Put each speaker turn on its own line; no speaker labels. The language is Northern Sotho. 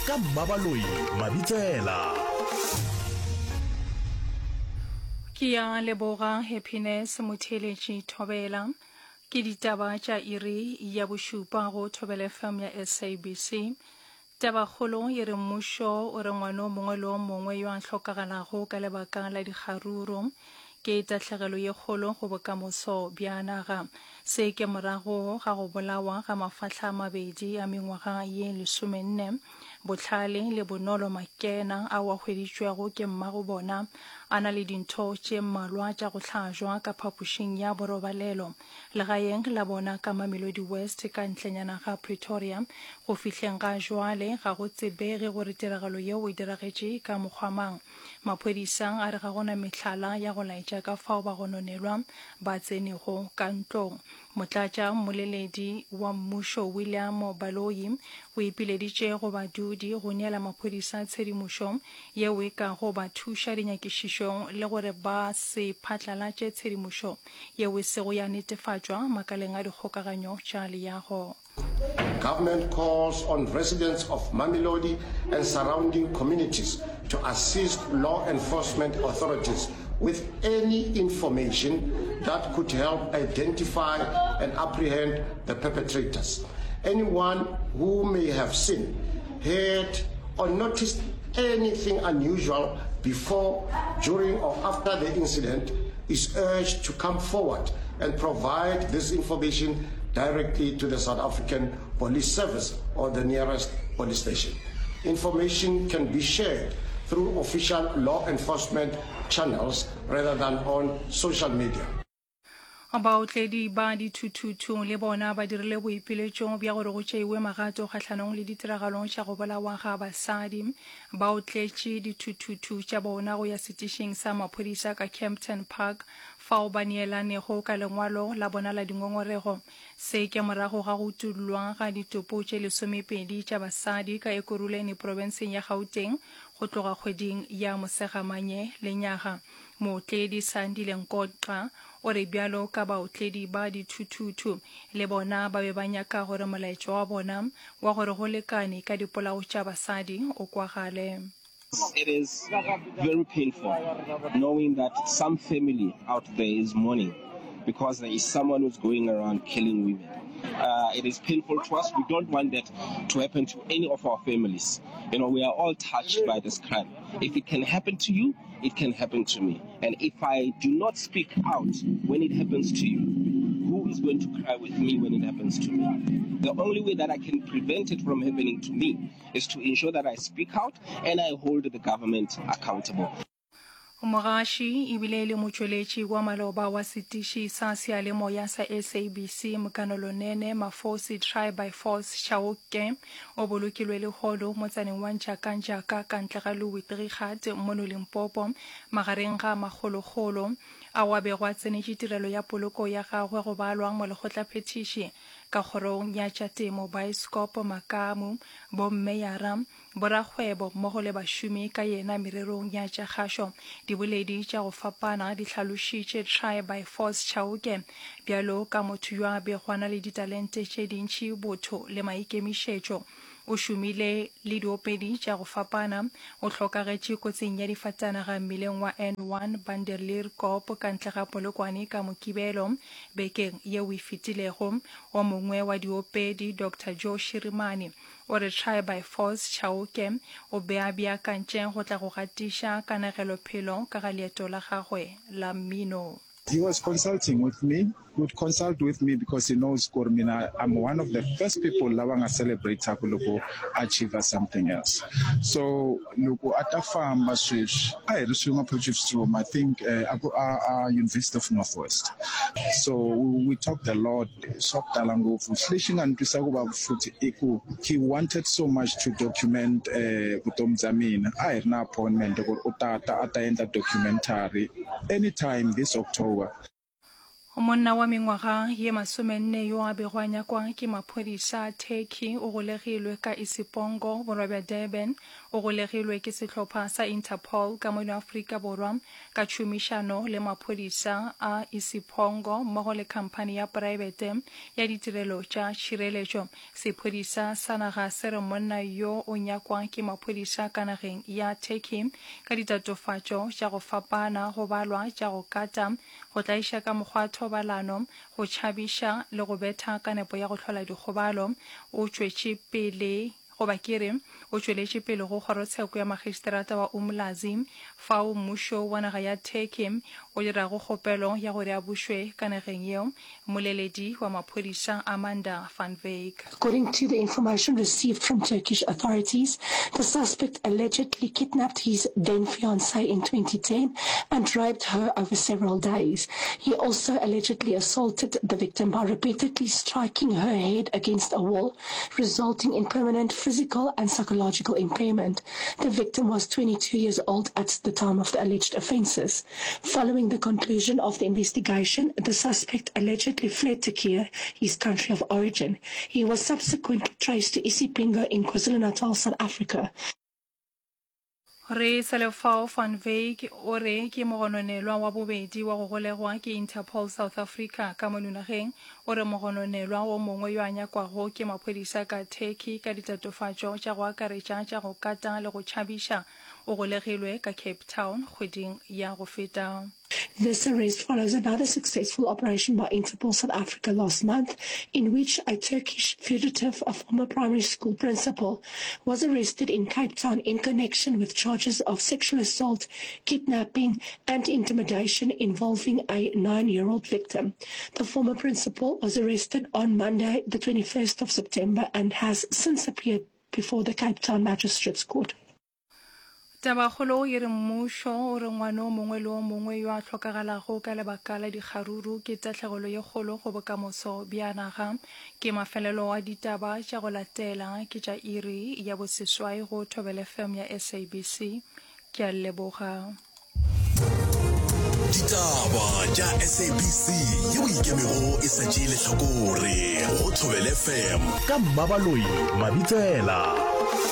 ka Mmabaloi Mabitsela.
Ke ya leboga Happiness Motheeletši Thobela. Ke ditaba tša iri ya bošupa go Thobela FM ya SABC. Tabakgolo e re mmušo o re ngwana o mongwe le o mongwe yo a hlokagalago ka lebaka la dikgaruru ke tahlegelo ye kgolo go bokamoso bja naga. Se ke morago ga go bolawa ga mafahla a mabedi a mengwaga ye lesomenne, Bohlale le Bonolo Makena ao a hweditšwego ke mmago bona a na le dintho tše mmalwa tša go hlajwa ka phapošing ya borobalelo. Legaeng la bona ka Mamelodi West ka ntlenyana ga Pretoria. Go fihleng ga jwale ga go tsebege gore tiragalo yeo e diragetše ka mokgwa mang. Maphodisa a re ga go na mehlala ya go laetša ka fao bagononelwa ba tsenego ka ntlong. Motlatša mmoleledi wa mmušo William Baloyi o ipileditše go badudi go neela maphodisa tshedimošo yeo e kago ba thuša dinyakišišong le gore ba se phatlalatše tshedimošo yeo e sego ya netefatšwa makaleng a dikgokaganyo tša leago.
Government calls on residents of Mamelodi and surrounding communities to assist law enforcement authorities with any information that could help identify and apprehend the perpetrators. Anyone who may have seen, heard, or noticed anything unusual before, during, or after the incident is urged to come forward and provide this information directly to the South African Police Service or the nearest police station. Information can be shared through official law enforcement channels rather than on social media.
Baotledi ba dithuthuthu le bona ba dirile boipiletšo bja gore go tšeiwe magato kgahlanong le ditiragalo tša go bolawa ga basadi. Ba otletše dithuthuthu tša bona go ya setišing sa maphodisa ka Kempton Park fao ba neelanego ka lengwalo la bona la dingongorego. Se ke morago ga go utollwa ga ditopo tše lesomepedi tša basadi ka Ekurhuleni profenseng ya Gauteng go tloga kgweding ya Mosegamanye lenyaga. Mootledi Sandile Nkoxa o re bjalo ka baotledi ba dithuthuthu le bona ba be ba nyaka gore molaetša wa bona wa gore go lekane ka dipolao tša basadi o kwagale.
It is very painful knowing that some family out there is mourning because there is someone who's going around killing women. Uh, it is painful to us. We don't want that to happen to any of our families. You know, we are all touched by this crime. If it can happen to you, it can happen to me. And if I do not speak out when it happens to you, who is going to cry with me when it happens to me? The only way that I can prevent it from happening to me is to ensure that I speak out and I hold the government accountable.
Mogaši ebile e le motšweletši wa maloba wa setiši sa seyalemoya sa SABC Mkanolo Nene Mafosi Try by Force Chauke o bolokilwe lehono motsaneng wa Njakanjaka ka ntle ga Louis Trichardt mono Limpopo magareng ga makgolokgolo ao a bego a tsenetše tirelo ya poloko ya gagwe go balwa molekgotlaphethiši ka kgorong ya tša temo Baeskopo Makamu Bommeyara Borakgwebo mmogo le bašomi ka yena mererong ya tša kgašo, diboledi tša go fapana di hlalošitše Try by Force Chauke bjalo ka motho yo a bego a na le ditalente tše dintši, botho le maikemišetšo. O šomile le diopedi tša go fapana. O hlokagetše kotsing ya difatanaga mmileng wa N1 Banderleerkop ka ntle ga Polokwane ka Mokibelo bekeng yeo e fetilego. O mongwe wa diopedi, Doctor Joe Shirimani, O re Try by Force Chauke o be a beakantše go tla go gatiša kanegelophelo ka ga leeto la gagwe la mmino.
He was consulting with me, he would consult with me because he knows gore mina I'm one of the first people lava nga celebrate-aku loko a achiever something else. So loko a ta famba sweswi a hi ri swin'we Potchefstroom, I think a ku a a University of North West. So we talked a lot. Swa ku tala ngopfu. Lexi nga ni twisa ku vava futhi i ku he wanted so much to document vutomi bya mina. A hi ri na appointment ku ri u ta ta a ta endla documentary anytime this October.
Monna wa mengwaga ye masomenne yo a bego a nyakwa ke maphodisa a Turkey o golegilwe ka Isipongo, borwa bja Durban. O golegilwe ke sehlopha sa Interpol ka mono Afrika Borwa ka tšhomišano le maphodisa a Isiphongo mmogo le khamphani ya praebete ya ditirelo tša tšhireletšo. Sephodisa sa naga se re monna yo o nyakwa ke maphodisa ka nageng ya Turkey ka ditatofatšo tša go fapana go balwa tša go kata, go tlaiša ka mokgwa wa thobalano, go tšhabiša le go betha ka nepo ya go hlola dikgobalo. O tšwetše pele goba ke re o tšweletše pele go kgorotsheko ya magistrata wa Umlazi fao mmušo wa naga ya Turkey o dirago kgopelo ya gore a bušwe ka nageng yeo, mmoleledi wa maphodisa Amanda van Wyk.
According to the information received from Turkish authorities, the suspect allegedly kidnapped his then fiancée in 2010 and raped her over several days. He also allegedly assaulted the victim by repeatedly striking her head against a wall, resulting in permanent physical and psychological impairment. The victim was 22 years old at the time of the alleged offences. Following the conclusion of the investigation, the suspect allegedly fled to Turkey, his country of origin. He was subsequently traced to Isipingo in KwaZulu-Natal, South Africa.
Re sa le fao, Van Wyk o re ke mogononelwa wa bobedi wa go golegwa ke Interpol South Africa ka mono nageng. O re mogononelwa wo mongwe yo a nyakwago ke maphodisa ka Turkey ka ditatofatšo tša go akaretša tša go kata le go tšhabiša o golegilwe ka Cape Town kgweding ya go feta.
This arrest follows another successful operation by Interpol South Africa last month, in which a Turkish fugitive, a former primary school principal, was arrested in Cape Town in connection with charges of sexual assault, kidnapping, and intimidation involving a nine-year-old victim. The former principal was arrested on Monday, the 21st of September, and has since appeared before the Cape Town Magistrates Court.
Tabakgolo e re mmušo o re ngwana o mongwe le o mongwe yo a hlokagalago ka lebaka la dikgaruru ke tahlegelo ye kgolo go bokamoso bja naga. Ke mafelelo a ditaba tša go latela ke tša iri ya boseswai go Thobela FM ya SABC. Ke a leboga.
Ditaba tša SABC yeo ikemego e sa tšee lehlakore go Thobela FM ka Mmabaloi Mabitsela.